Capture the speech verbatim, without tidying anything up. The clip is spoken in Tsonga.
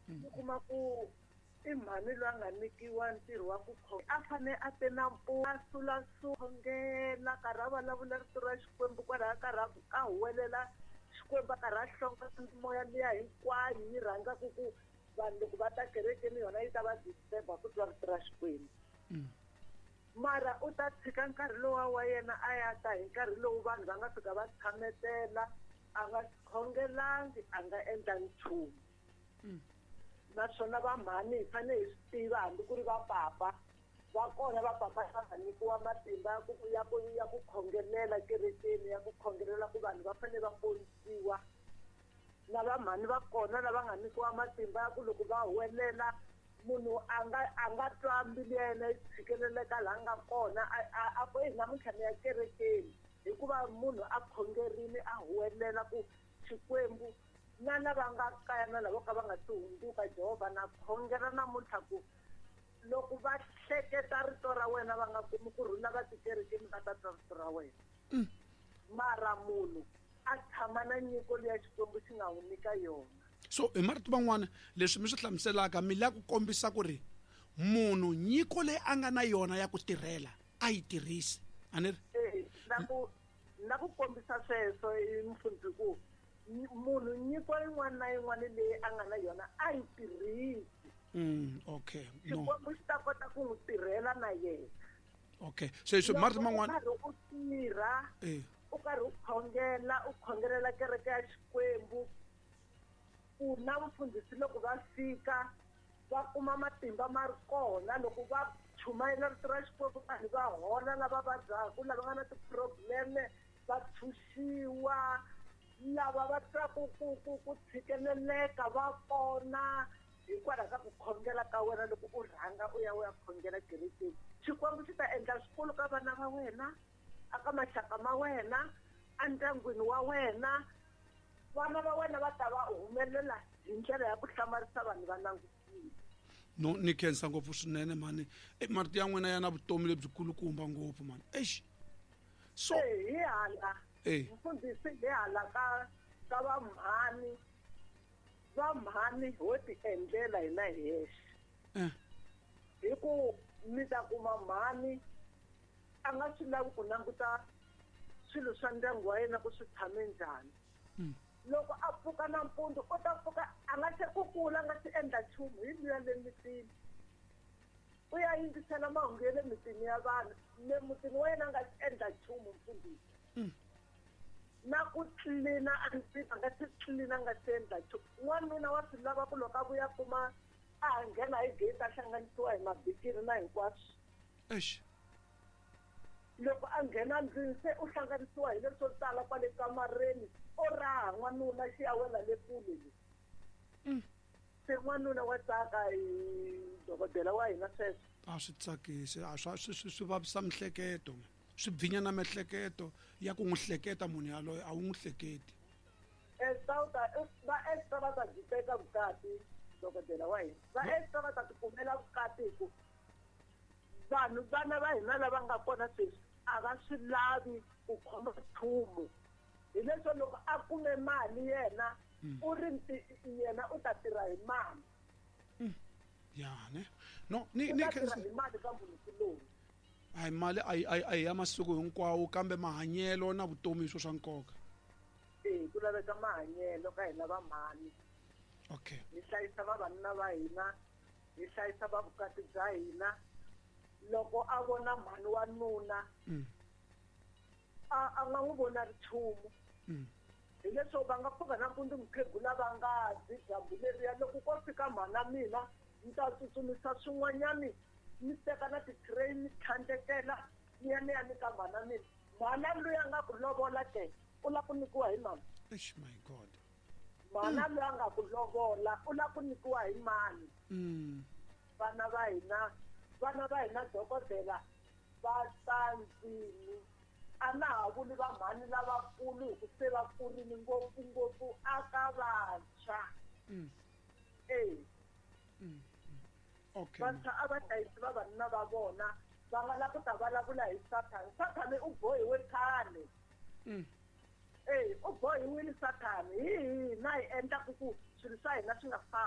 U kuma ku i mhani loyi a nga nyikiwa ntirho wa ku khonga a fane a te na a sula khongela karhi a vulavula rito ra Xikwembu kwalaho karhi a huwelela Xikwembu a karhi a hlonga moya liya hinkwayo yi rhandzaka ku vanhu loko va ta kerekeni yona yi ta va disturb-a ku twa rito ra Xikwembu. Mara u ta tshika nkarhi lowa wa yena a ya ta hi nkarhi lowu vanhu va nga fika va tshametela a nga khongelangi a nga endla nchumu. Naswona va mhani hi fanele hi swi tiva hambi ku ri va papa va kona va papa va nga nyikiwa matimba ya ku ya ku ya ku khongelela kerekeni ya ku khongelela ku vanhu va fanele va ponisiwa. Na va mhani va kona lava nga nyikiwa matimba ya ku loko va huwelela munhu a nga a nga twa mbilu ya yena yi tshikeleleka laha nga kona a a ku eyi namuntlha ni ya kerekeni hikuva munhu a khongerile a huwelela ku Xikwembu na lava nga kaya na lavo ka va nga si hundzuka Jehovha na khongela namuntlha ku loko va hleketa rito ra wena va nga kumi ku rhula va tikerekeni va ta twa rito ra wena. Mara munhu a tshama na nyiko leya Xikwembu xi nga n'wi nyika yona. So hi marito man'wana leswi mi swi hlamuselaka mi lava ku kombisa ku ri munhu nyiko leyi a nga na yona ya ku tirhela a yi tirhisi a ni ri? Eh, na ku na ku kombisa sweswo i mfundzi ku munhu nyiko yin'wana na yin'wana leyi a nga na yona a yi tirhisi. Mm, okay. No. Xikwembu xi ta kota ku n'wi tirhela na yena. Okay. So so marito man'wana u karhi u tirha, eh u karhi u khongela, u khongelela kereke ya Xikwembu. Ku na mfundhisi loko va fika va kuma matimba ma ri kona loko va chumayela rito ra Xikwembu vanhu va hola lava vabyaka lava nga na ti-problem va tshunxiwa lava va twaku ku ku ku tshikeleleka va pona hikwalaho ka ku khongela ka wena loko u rhanga u ya u ya khongela kerekeni. Xikwembu xi ta endla swikulu ka vana va wena aka maxaka ma wena endyangwini wa wena. Vana va wena va ta va humelela hi ndlela ya ku hlamarisa vanhu va langutile. No ni khensa ngopfu swinene mani. Marito ya n'wina ya na vutomi lebyikulukumba ngopfu mani. Eish. So hi hala eh mfundhisi hi hala ka ka va mhani va mhani ho ti endlela hina hi hexe. Eh hi ku mi ta kuma mhani a nga swi lavi ku languta swilo swa ndyangu wa yena ku swi tshame njhani. Loko a pfuka nampundzu u ta pfuka a nga se kukula a nga se endla nchumu hi luya le mitini u ya yingisela mahungu ya le mitini ya vanhu le mutini wa yena a nga se endla nchumu mfundhisi. Na ku tlilina a ndzi a nga se tlilina a nga se endla nchumu. N'wanuna wa swi lava ku loko a vuya kuma a nghena hi gate a hlanganisiwa hi mabikiri na hinkwaswo. Eish. Loko a nghena ndlwini se u hlanganisiwa hi leswo tala kwale kamareni o raha n'wanuna xi ya wela le kule le. Se n'wanuna wa tsaka hi dokodela wa hina sweswo. A swi tsakisi a swa swi swi swi vavisa mihleketo swi bvinya na mihleketo ya ku n'wi hleketa munhu yaloye a wu n'wi hleketi. Esta u ta va Esta va ta byi teka vukati dokodela wa hina va Esta va ta tikumela vukati hi ku vanhu vana va hina lava nga kona sweswi a va swi lavi ku khoma nchumu. Hi leswo loko a kume mali yena u ri yena u ta tirha hi mali. Ya ne no ni U ni ta tirha hi mali ka munhu kuloni. Hayi mali a yi a yi ya masiku hinkwawo kambe mahanyelo na vutomi hi swo swa nkoka. Eh ku laveka mahanyelo ka hina va mhani. Okay. Hi hlayisa vavanuna va hina, hi hlayisa va vukati bya hina. Loko a vona mhani wa nuna a a nga n'wi vona ri nchumu. Hi leswo va nga pfuka nampundzu mukhegula va nga dyi dyambu leriya loko ko fika mhana mina ni ta tsutsumisa swin'wanyani ni teka na ti-tray ni tlhandlekela ni ya ni ya nyika mhana mina. Mhana luya nga ku lovola ke u lava ku nyikiwa hi mani? Eish my God. Mhana luya nga ku lovola u lava ku nyikiwa hi mani? Vana va hina vana va hina dokodela va tsandzini a na ha vuli va mhani lavakulu hi ku se va kurile ngopfu ngopfu aka vantshwa. Eh Okay. Vantshwa a va hlayisi vavanuna va vona va nga lava ku ta vulavula hi Sathana. Sathana u bohiwe khale. Eh u bohiwile Sathana hi hina hi endlaku ku swilo swa hina swi nga fambi.